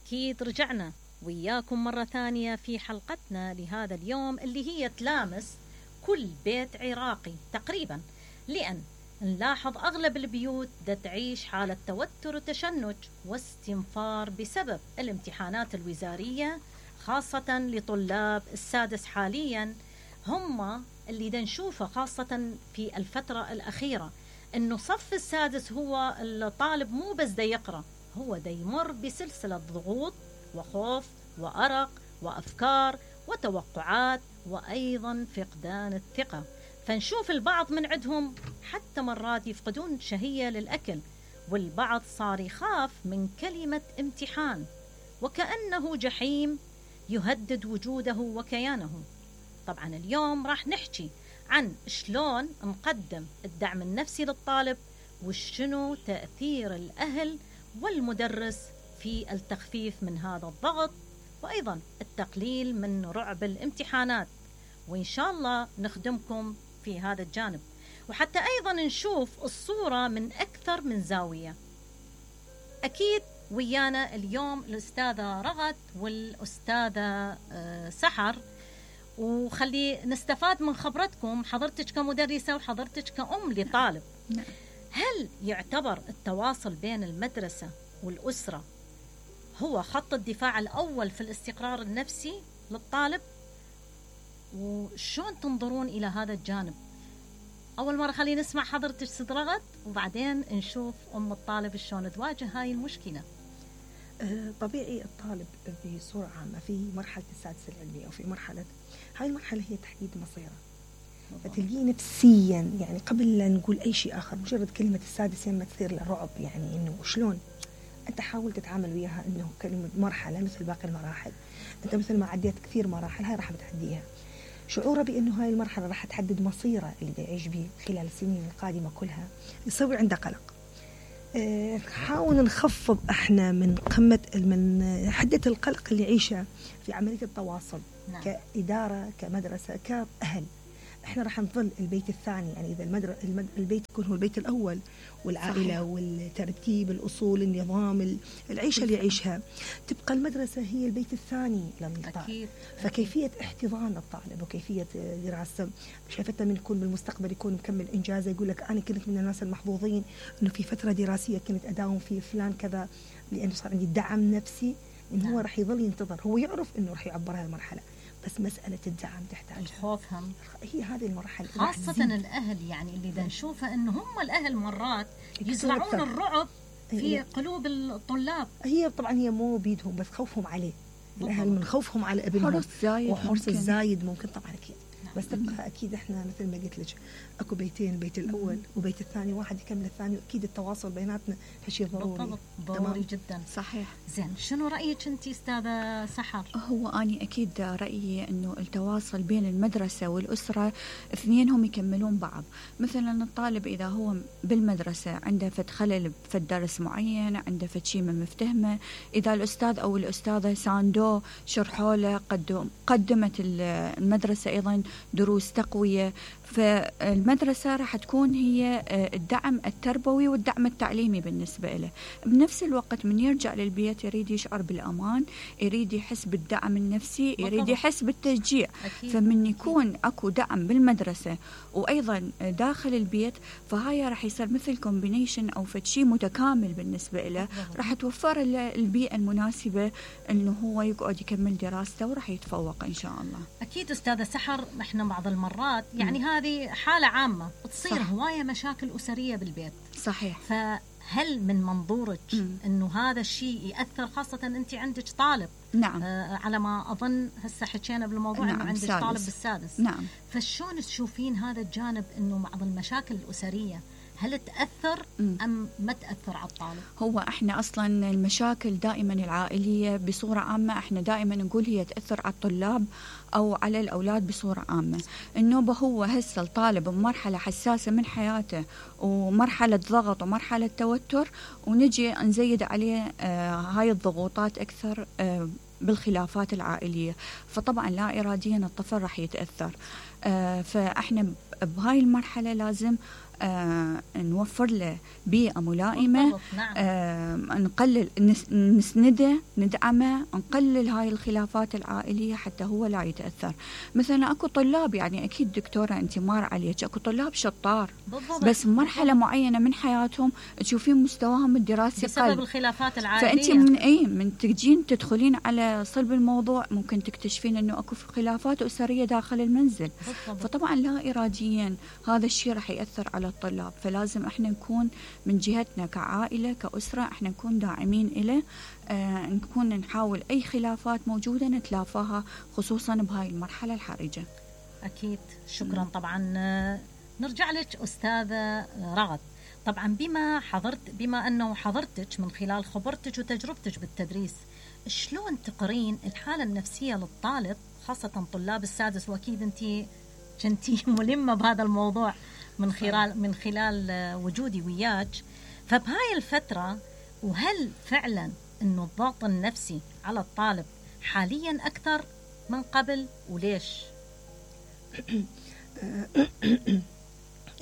أكيد رجعنا وياكم مرة ثانية في حلقتنا لهذا اليوم اللي هي تلامس كل بيت عراقي تقريبا، لأن نلاحظ أغلب البيوت دا تعيش حالة توتر وتشنج واستنفار بسبب الامتحانات الوزارية، خاصة لطلاب السادس حاليا. هم اللي دا نشوفه خاصة في الفترة الأخيرة، إنه صف السادس هو الطالب مو بس دا يقرأ، هو دا يمر بسلسلة ضغوط وخوف وأرق وأفكار وتوقعات وأيضا فقدان الثقة. فنشوف البعض من عندهم حتى مرات يفقدون شهية للأكل، والبعض صار يخاف من كلمة امتحان وكأنه جحيم يهدد وجوده وكيانه. طبعا اليوم راح نحكي عن شلون نقدم الدعم النفسي للطالب، وشنو تأثير الأهل والمدرس في التخفيف من هذا الضغط، وأيضا التقليل من رعب الامتحانات. وإن شاء الله نخدمكم في هذا الجانب، وحتى أيضا نشوف الصورة من أكثر من زاوية. أكيد ويانا اليوم الأستاذة رغد والأستاذة سحر، وخلي نستفاد من خبرتكم، حضرتك كمدرسة وحضرتك كأم لطالب. هل يعتبر التواصل بين المدرسة والأسرة هو خط الدفاع الأول في الاستقرار النفسي للطالب؟ وشون تنظرون إلى هذا الجانب؟ أول مرة خلينا نسمع حضرتك ست رغد، وبعدين نشوف أم الطالب شلون تواجه هاي المشكلة. طبيعي الطالب بصورة عامة في مرحلة السادسة العلمية أو في مرحلة، هاي المرحلة هي تحديد مصيره، فتلقيه نفسيا يعني قبل لا نقول أي شيء آخر مجرد كلمة السادس لما تصير له رعب، يعني إنه شلون أنت حاول تتعامل وياها إنه كلمة مرحلة مثل باقي المراحل، أنت مثل ما عديت كثير مراحل هاي راح بتعديها. شعوره بأنه هاي المرحلة راح تحدد مصيره اللي يعيش به خلال السنين القادمة كلها يسوي عنده قلق. نحاول نخفض احنا من قمة من حدة القلق اللي يعيشه في عملية التواصل. نعم. كإدارة كمدرسة كأهل احنا راح نظل البيت الثاني، يعني إذا البيت يكون هو البيت الأول والعائلة. صحيح. والترتيب الأصول النظام العيشة اللي يعيشها، تبقى المدرسة هي البيت الثاني للطالب. فكيفية احتضان الطالب وكيفية دراسته شايفتنا من يكون بالمستقبل يكون مكمل إنجازه، يقول لك أنا كنت من الناس المحظوظين إنه في فترة دراسية كنت أداوم في فلان كذا لأنه صار عندي دعم نفسي. إنه هو راح يظل ينتظر، هو يعرف إنه راح يعبر هذه المرحلة، بس مسألة الدعم تحتاج الخوف هم هي هذه المرحلة، خاصة الأهل. يعني اللي دا نشوفه إنه هم الأهل مرات يزرعون الرعب في قلوب الطلاب. هي طبعا هي مو بيدهم بس خوفهم عليه، الأهل من خوفهم على ابنهم وحرص الزايد ممكن طبعا أكيد. بس تبقى أكيد إحنا مثل ما قلت لك أكو بيتين، البيت الأول وبيت الثاني، واحد يكمل الثاني، وأكيد التواصل بيناتنا هالشيء ضروري. ضروري جدا. صحيح. زين، شنو رأيك أنت أستاذة سحر؟ هو أنا أكيد رأيي إنه التواصل بين المدرسة والأسرة اثنينهم يكملون بعض. مثلا الطالب إذا هو بالمدرسة عنده فد خلل في درس معين، عنده فد شيء ما مفتهمه، إذا الأستاذ أو الأستاذة ساندوه شرحوا له، قدمت المدرسة أيضا دروس تقوية، فالمدرسة راح تكون هي الدعم التربوي والدعم التعليمي بالنسبة له. بنفس الوقت من يرجع للبيت يريد يشعر بالأمان، يريد يحس بالدعم النفسي، يريد يحس بالتشجيع. فمن يكون أكو دعم بالمدرسة وأيضا داخل البيت، فهاي راح يصير مثل كومبينيشن أو فتشي متكامل بالنسبة له، راح توفر له البيئة المناسبة إنه هو يقعد يكمل دراسته وراح يتفوق إن شاء الله. أكيد أستاذة سحر، إحنا بعض المرات يعني هذه حالة عامة تصير هواية مشاكل أسرية بالبيت. صحيح. فهل من منظورك إنه هذا الشيء يأثر، خاصة أنت عندك طالب؟ نعم. على ما أظن هسه حكينا بالموضوع. نعم. إنه عندك طالب بالسادس. نعم. فشون تشوفين هذا الجانب إنه بعض المشاكل الأسرية هل تأثر أم ما تأثر على الطالب؟ هو احنا اصلا المشاكل دائما العائلية بصورة عامة احنا دائما نقول هي تأثر على الطلاب او على الاولاد بصورة عامة. النوبة هو هسه الطالب بمرحلة حساسة من حياته ومرحلة ضغط ومرحلة توتر، ونجي نزيد عليه هاي الضغوطات اكثر بالخلافات العائلية، فطبعا لا إراديا الطفل راح يتأثر. فاحنا بهاي المرحلة لازم نوفر له بيئة ملائمة، نعم. نقلل نسنده، ندعمه، نقلل هاي الخلافات العائلية حتى هو لا يتأثر. مثلا أكو طلاب، يعني أكيد دكتورة أنت مار عليك، أكو طلاب شطار بالضبط. بس مرحلة معينة من حياتهم تشوفين مستواهم الدراسي بسبب الخلافات العائلية. فأنت من تجين تدخلين على صلب الموضوع ممكن تكتشفين أنه أكو خلافات أسرية داخل المنزل. بالضبط. فطبعا لا إراديا هذا الشيء راح يأثر على الطلاب، فلازم احنا نكون من جهتنا كعائلة كأسرة احنا نكون داعمين إليه، نكون نحاول أي خلافات موجودة نتلافاها خصوصا بهاي المرحلة الحرجة. أكيد. شكرا. طبعا نرجع لك أستاذة رغد. طبعا بما أنه حضرتك من خلال خبرتك وتجربتك بالتدريس، شلون تقرين الحالة النفسية للطالب خاصة طلاب السادس، وأكيد أنت كنتي ملمة بهذا الموضوع من خلال وجودي وياك، فبهاي الفترة وهل فعلا أنه الضغط النفسي على الطالب حاليا أكثر من قبل وليش؟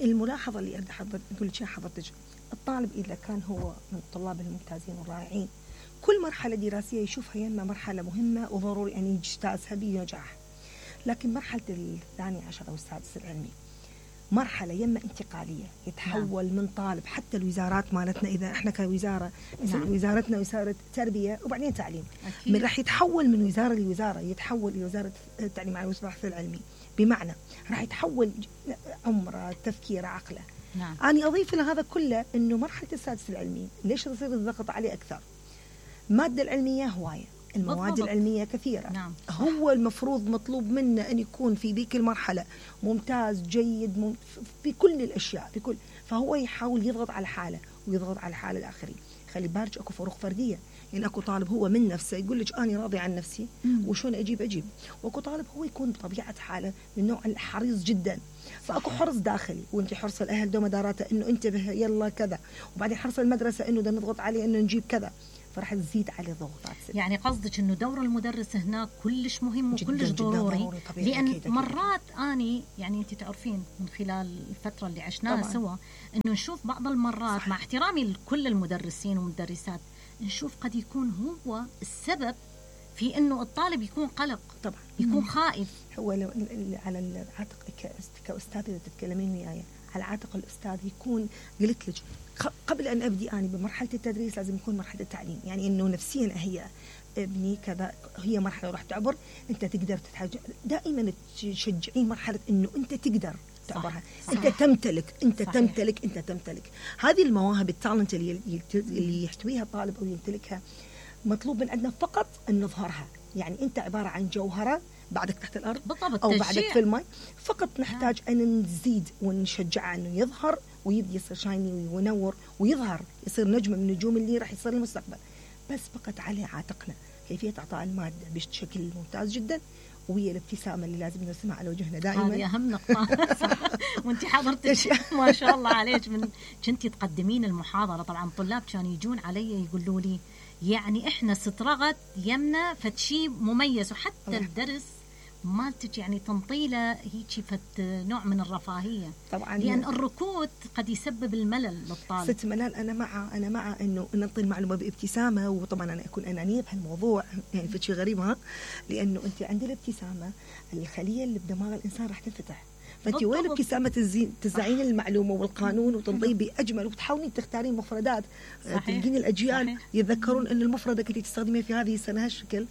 الملاحظة اللي أريد أقول لك حضرتك، الطالب إذا كان هو من الطلاب الممتازين والرائعين كل مرحلة دراسية يشوفها يما مرحلة مهمة وضروري أن يجتازها بنجاح، لكن مرحلة الثاني عشر أو السادس العلمي مرحلة يما انتقالية، يتحول من طالب حتى الوزارات مالتنا، إذا إحنا كوزارة وزارتنا وزارة تربية وبعدين تعليم، من راح يتحول من وزارة لوزارة، يتحول إلى وزارة التعليم والبحث العلمي، بمعنى راح يتحول عمره، تفكيره، عقله. نعم. أنا أضيف إلى هذا كله إنه مرحلة السادس العلمي ليش يصير الضغط عليه أكثر؟ المادة العلمية هواية، المواد بالضبط. العلمية كثيرة. نعم. هو المفروض مطلوب منه أن يكون في ذيك المرحلة ممتاز جيد بكل الأشياء بكل، فهو يحاول يضغط على حاله ويضغط على حال الآخرين. خلي بالك أكو فروق فردية، يعني أكو طالب هو من نفسه يقول لك أنا راضي عن نفسي وشون أجيب، وأكو طالب هو يكون بطبيعة حاله من نوع الحريص جدا، فأكو حرص داخلي، وأنت حرص الأهل دوما داراته إنه انتبه يلا كذا، وبعدين حرص المدرسة إنه ده نضغط عليه إنه نجيب كذا، فراح تزيد عليه ضغوطات. يعني قصدك انه دور المدرس هناك كلش مهم وكلش ضروري، لان أكيد. مرات اني يعني انت تعرفين من خلال الفتره اللي عشناها سوا انه نشوف بعض المرات، صح. مع احترامي لكل المدرسين والمدرسات، نشوف قد يكون هو السبب في انه الطالب يكون قلق، طبعا يكون خائف. هو على العاتق كأستاذ إذا تتكلمين وياي على عاتق الأستاذ يكون، قلت لك قبل أن أبدي أنا بمرحلة التدريس لازم يكون مرحلة التعليم، يعني إنه نفسيا هي ابني كذا، هي مرحلة راح تعبر، أنت تقدر تتحاجر، دائما تشجعين مرحلة إنه أنت تقدر تعبرها، أنت تمتلك، أنت صحيح. أنت تمتلك هذه المواهب، التالنت اللي يحتويها الطالب أو يمتلكها، مطلوب من عندنا فقط أن نظهرها. يعني أنت عبارة عن جوهرة بعدك تحت الأرض بالضبط، أو بعدك في الماء، فقط نحتاج أن نزيد ونشجعه أنه يظهر ويبدي يصير شايني وينور ويظهر، يصير نجم من النجوم اللي راح يصير المستقبل، بس فقط عليه عاتقنا كيفية إعطاء المادة بشكل ممتاز جدا، وهي الابتسامة اللي لازم نرسمها على وجهنا دائما. هذه أهم نقطة. وانت حضرتك ما شاء الله عليك كنتي تقدمين المحاضرة، طبعا طلاب كانوا يجون علي يقولوا لي يعني احنا سترغت يمنا فتشي مميز، وحتى الدرس مالتك يعني تنطيله هيك فت نوع من الرفاهية، طبعا لأن الركود قد يسبب الملل للطالب. ست ملل. أنا مع إنه نعطي المعلومة بابتسامة، وطبعا أنا أكون أنانية بهالموضوع، يعني فتشي غريب لأنه أنت عند الابتسامة الخلية اللي بدماغ الإنسان راح تنفتح، فأنت وين ابتسامة تزعين المعلومة والقانون وتنطيه بأجمل، وتحاولين تختارين مفردات تلقين الأجيال صحيح. يتذكرون أن المفردة كنت تستخدميها في هذه السنة هالشكل،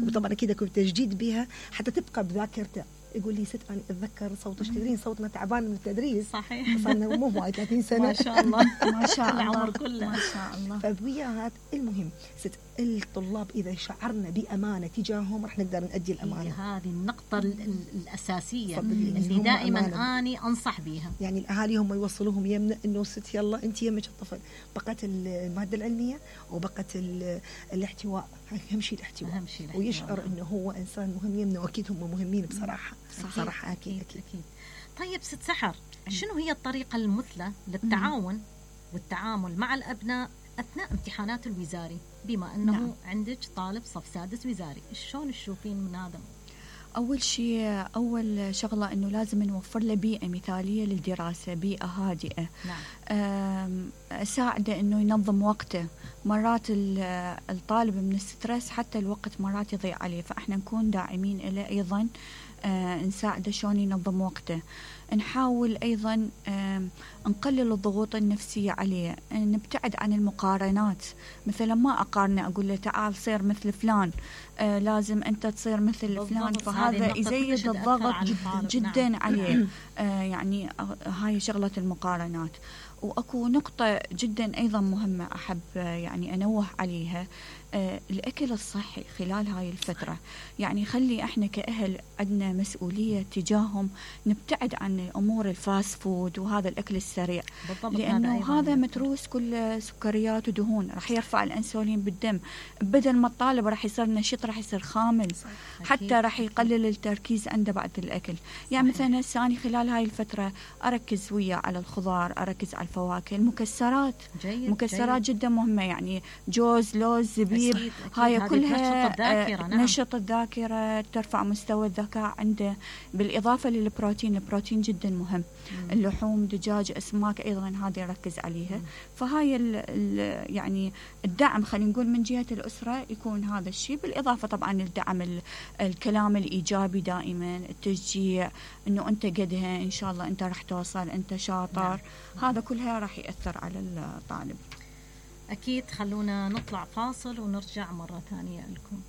وطبعا كده كنت تجديد بها حتى تبقى بذاكرته. يقول لي ست أنا أتذكر صوتش، تدرين صوتنا تعبان من التدريس، صحيح صارنا مو هواي 30 سنة ما شاء الله ما شاء الله العمر كله ما شاء الله. فبيات المهم ست الطلاب إذا شعرنا بأمانة تجاههم راح نقدر نؤدي الأمانة. هذه النقطة الأساسية اللي دائما أني أنصح بيها. يعني الأهالي هم يوصلوهم يمنا إنه ست يلا أنت يمك الطفل، بقت المادة العلمية وبقت الاحتواء، أهم شيء الاحتواء، ويشعر إنه هو إنسان مهم يمنا، وأكيد هم مهمين بصراحة. صراحة أكيد. طيب ست سحر، شنو هي الطريقة المثلى للتعاون والتعامل مع الأبناء أثناء امتحانات الوزاري، بما أنه عندك طالب صف سادس وزاري، شلون تشوفين من هذا؟ أول شيء، أول شغلة أنه لازم نوفر له بيئة مثالية للدراسة، بيئة هادئة. نعم. أساعده أنه ينظم وقته. مرات الطالب من الستريس حتى الوقت مرات يضيع عليه، فإحنا نكون داعمين له أيضا، نساعده شلون ينظم وقته. نحاول أيضا نقلل الضغوط النفسية عليه، نبتعد عن المقارنات. مثلا ما أقارنه أقول له تعال صير مثل فلان، لازم أنت تصير مثل فلان، فهذا يزيد الضغط جدا نعم. عليه. يعني هاي شغلة المقارنات. وأكو نقطة جدا أيضا مهمة أحب يعني أنوه عليها، الأكل الصحي خلال هاي الفترة. يعني خلي إحنا كأهل عندنا مسؤولية تجاههم، نبتعد عن أمور الفاست فود وهذا الأكل السريع، لأنه هذا متروس كل سكريات ودهون، راح يرفع الأنسولين بالدم، بدل ما الطالب راح يصير نشيط راح يصير خامل، حتى راح يقلل التركيز عنده بعد الأكل. يعني مثلا ثاني خلال هاي الفترة أركز وياه على الخضار، أركز على الفواكه، المكسرات. مكسرات جدا مهمة، يعني جوز، لوز، زبيب، هاي كلها نشط الذاكرة، ترفع مستوى الذكاء عنده، بالإضافة للبروتين. البروتين جدا مهم. اللحوم، دجاج، أسماك أيضا هذه نركز عليها. فهاي يعني الدعم خلينا نقول من جهة الأسرة يكون هذا الشيء، بالإضافة طبعا الدعم، الكلام الإيجابي دائما، التشجيع، إنه أنت قدها، إن شاء الله أنت راح توصل، أنت شاطر. هذا كلها راح يأثر على الطالب. أكيد. خلونا نطلع فاصل ونرجع مرة ثانية لكم.